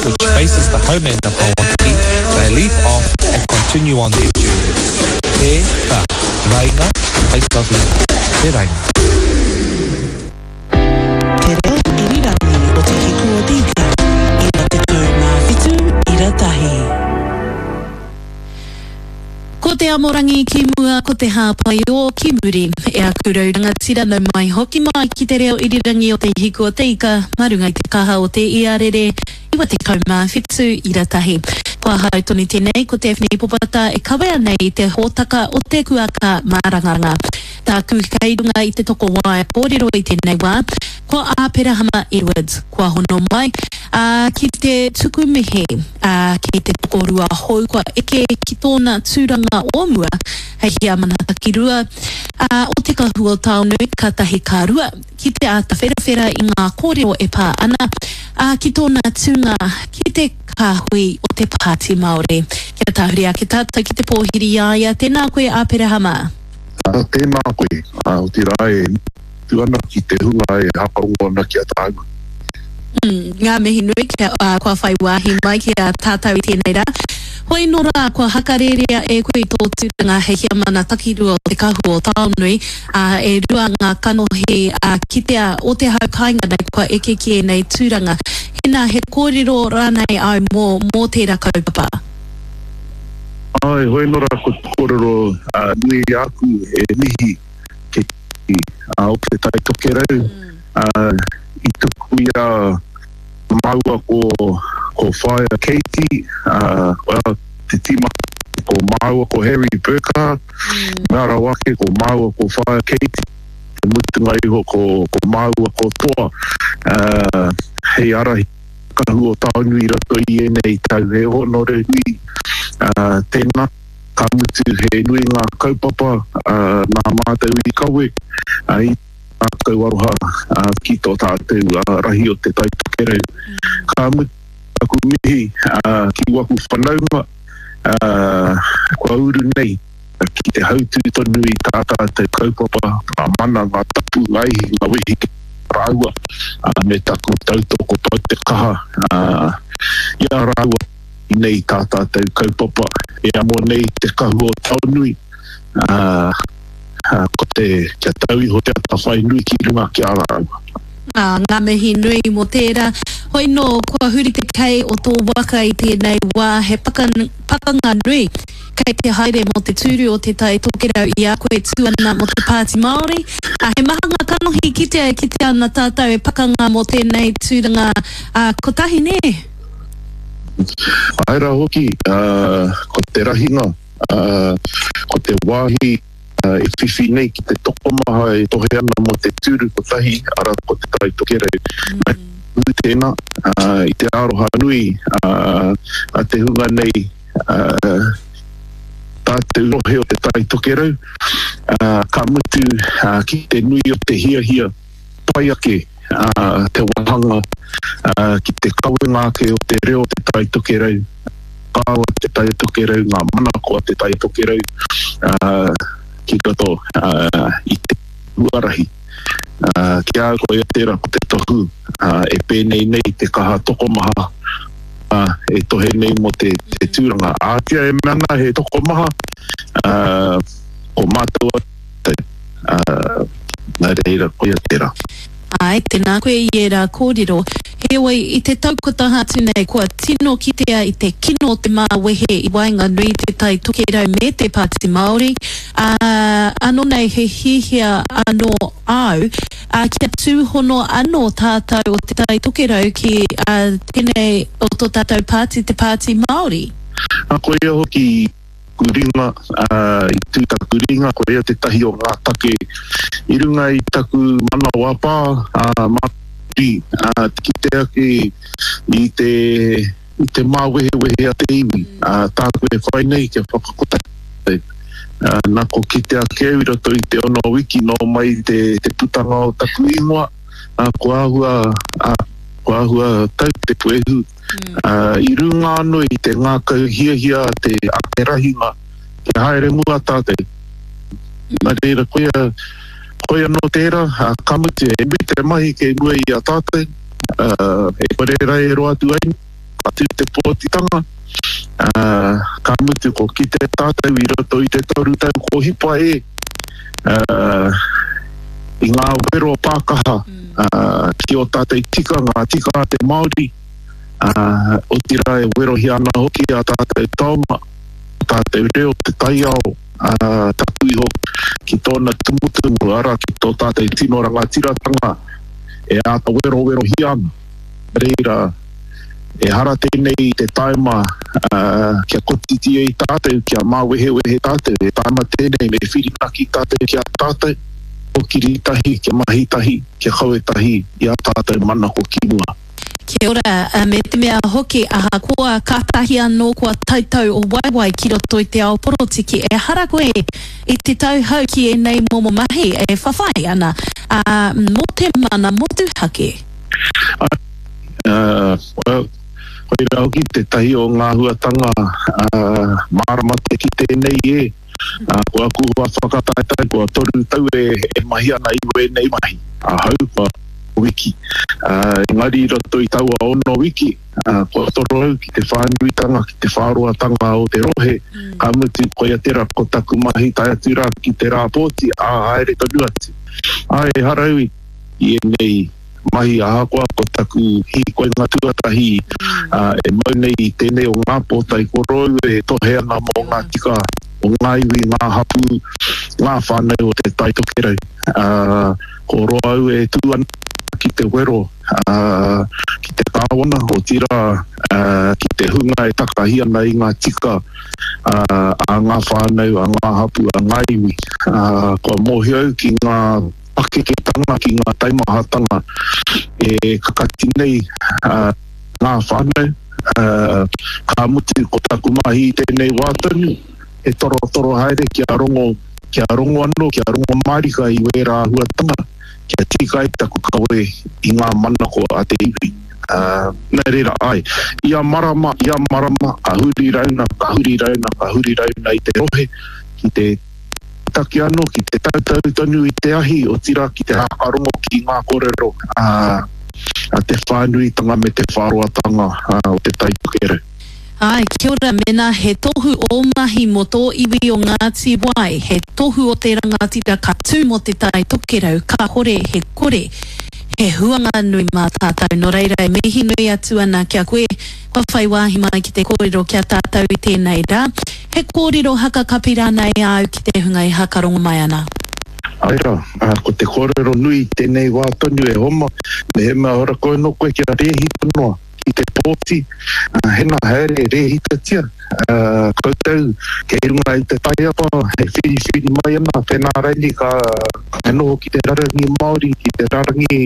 which faces the home end of Hawatiki, they leap off and continue on their journey. Te, ka, rainga, place of leap, te rainga. Te reo irirangi o Te Hiku o te Ika, 97 ira tahi. Ko te amorangi ki mua, ko te hāpai ō ki muri. E aku rau rangatira nau mai hoki mai ki te reo irirangi o Te Hiku o te Ika mā runga i te kaha o te iarere 97 ira tahi. Ko ahau tonu tēnei, ko Daphne Popata e kawea nei i te hōtaka o te kuaka mārangaranga. Tāku kei runga i te tokowaea kōrero i tēnei wā, ko Āperahama Edwards, kua hono mai, ā, ki te tuku mihi, ā, ki te tokorua hou kua eke ki tōna tūranga o mua hei heamana takirua, ā, o Te Kahu o Taonui, ka tahi ka rua, ki te āta wherawhera i ngā kōrero e pā ana, ā, ki tōna tūnga ki te kāhui o te Pāti Māori. Kia tahuri ake tātou ki te pōhiri i a ia, tēnā koe Āperahama. Ā, tēnā koe, ā, otirā e mutu ana ki te hunga e hakarongo ana ki a tāua. Ngā mihi nui kia, ā, kua whai wāhi mai ki a tātou i tēnei rā. Hoi nō rā, kua hakarērea e koe tō tūranga hei heamana takirua o Te Kahu o Taonui, ā, e rua ngā kanohi, ā, kitea o te hau kāinga nei kua eke ki ēnei tūranga. Hēnā, he kōrero rānei au mō, mō tērā kaupapa? Āe, hoi nō rā, ko te kōrero nui āku e mihi ki o Te Tai Tokerau i tuku i a māua ko Whaea Katie, well, te tīma ko māua ko Harry Burkhardt, mea rawa ake ko māua ko Whaea Katie, te mutunga iho ko māua ko Toa hei ārahi kahu o Taonui i roto i ēnei tau. He hōnore nui tēnā. Ka mutu he nui ngā kaupapa nā mātou i kawe i ngākau aroha ki tō tātou rahi o Te Tai Tokerau. Ka mutu taku mihi ki waku whanaunga kua uru nei ki te hautū tonu i tā tātou kaupapa, ngā mana, ngā tapu, ngā ihi, ngā wehi ki a rāua me taku tautoko pau te kaha i a rāua. Inei tā tātou kaupapa e amo nei te kahu o Taonui, ā, ko te kia tau iho te atawhai nui ki runga ki a rāua. Ā, ngā mihi nui mō tērā. Hoi nō, kua huri te kei o tō waka i tēnei wā, he pakanga nui kei te haere mō te tūru o Te Tai Tokerau i a koe tū ana mō te Pāti Māori. Ā, he maha ngā kanohi kitea e kitea ana tātou e pakanga mō tēnei tūranga, ā, kotahi nē? Āe rā hoki, ko te rahinga, ko te wāhi e whiwhi nei ki te tokomaha e tohe ana mō te tūru kotahi, arā, ko Te Tai Tokerau. Nui tēnā, i te aroha nui a te hunga nei, tātou rohe o Te Tai Tokerau, ka mutu ki te nui o te hiahia pai ake te wāhanga ki te kawenga ake o te reo o Te Tai Tokerau, whakaaro a Te Tai Tokerau, ngā manako a Te Tai Tokerau ki roto i te huarahi. Ki a au koia tērā ko te tohu e pēnei nei te kaha tokomaha e tohe nei mō te tūranga. Ātia e mea ana he tokomaha, ko mātou Nā reira, koia tērā. Āe, tēnā koe i ērā kōrero. Heoi, i te tau kua taha atu nei, kua tino kitea i te kino o te māwehe i waenganui i Te Tai Tokerau me te Pāti Māori, ā, anō nei he hiahia anō āu, ā, kia tūhono anō tātou o Te Tai Tokerau ki, ā, tēnei o tō tātou pāti, te Pāti Māori. Ā, koia hoki Taku ringa, ā, i tū taku ringa, koia tētahi o ngā take i runga i taku manawapā, ā, māori, ā, te kite ake i te, i te māwehewehe a te iwi, ā, tāku e whai nei kia whakakotahi, ā, nā ko kite ake au i roto i te ono wiki nō mai te, te putanga o taku ingoa, ā, kua āhua, ā, kua āhua tau te puehu. I runga anō i te ngākau hiahia a te, a te rahinga kia haere mua tātou. Nā reira, koia, koia anō tērā, ka mutu, he nui te mahi kei mua i a tātou, e kore rā e roa atu ai. ka tū te pōtitanga, ā, ka mutu ko kite tātou i roto i te 3 tau ko hipa e, ā, i ngā wero pākaha, ā, ki ō tātou tika, ngā tika a te Māori, ā, otirā e werohia ana hoki ā tātou taonga, ō tātou reo, te taiao, ā, taku iho ki tōna tumutumu, arā, ki tō tātou tino rangatiratanga e āta werowerohia ana. Reira, ehara tēnei i te taima kia kotiti ai tātou, kia māwehewehe tātou, he taima tēnei me whirinaki tātou ki a tātou, kōkiri tahi, kia mahi tahi, kia kawe tahi i ā tātou manako ki mua. Kia ora, me te mea hoki ahakoa kātahi anō kua tautau o waewae ki roto i te ao porotiki, ehara koe i te tauhou ki ēnei momo mahi e whawhai ana, ā, mō te mana motuhake. Ā, well, koirā hoki tētahi o ngā āhuatanga mārama te kite nei e, ko aku hoa whakataetae kua 3 tau e mahi ana i wēnei mahi, ahau kua wiki. Engari i roto i taua ono wiki, kua toro au ki te whānuitanga, ki te whāroatanga o te rohe, ka mutu koia tērā ko taku mahi tae atu rā ki te rā pōti, ā, haere tonu atu. Ā, ehara au i ēnei mahi ahakoa ko taku hīkoinga tuatahi e mau nei i tēnei o ngā pōtae korou e tohe ana mō ngā tika o ngā iwi, ngā hapū, ngā whānau o Te Tai Tokerau. Ko roa au e tū ana ki te wero ki te kāwana, otirā ki te hunga e takahi ana i ngā tika a ngā whānau, a ngā hapū, a ngā iwi. Kua mōhio au ki ngā pakeketanga, ki ngā taumahatanga e kakati nei ngā whānau. Ka mutu ko taku mahi i tēnei wā tonu, he torotoro haere kia rongo, kia rongo anō, kia rongo mārika i wērā āhuatanga, kia tika ai taku kawe i ngā manako a te iwi. Nā reira, āe, ia marama, ia marama, ka huri rauna, ka huri rauna, ka huri rauna i te rohe ki te. Take anō ki te tautau tonu i te ahi, otirā ki te hākarongo ki ngā kōrero a te whānuitanga me te whāroatanga o Te Tai Tokerau. Āe, kia ora, mēnā he tohu ō mahi mō tō iwi o Ngāti Wai, he tohu o te rangatira ka tū mō Te Tai Tokerau, kāhore he kore, he huanga nui mā tātou. Nō reira e mihi nui atu ana ki a koe, kua whai wāhi mai ki te kōrero ki a tātou i tēnei rā. He kōrero haka kapi rānei āu ki te hunga e hakarongo mai ana? Āe rā, ko te kōrero nui i tēnei wā tonu e Homa, mehemea ora koe nō koe kia rēhita noa ki te pōti, hena haere rēhitatia koutou kei runga i te taiapa e whiriwhiri mai ana, pēnā raini ka noho ki te rarangi Māori, ki te rarangi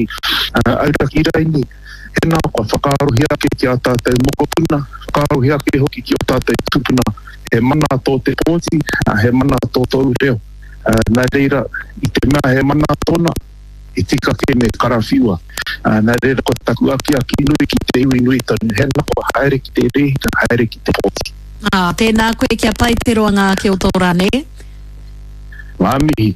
auraki raini. Hena kua whakaarohia ake ki ā tātou mokopuna, whakaarohia ake hoki ki ō tātou tūpuna, he mana tō te pōti, he mana tō tōu reo. Nā reira, i te mea he mana tōna, he tika kē me karawhiua. Nā reira, ko taku akiaki nui ki te iwi nui tonu, hena kua haere ki te rēhita, haere ki te pōti. Ā, tēnā koe kia pai te roanga ake o tō rā, nē? Ngā mihi.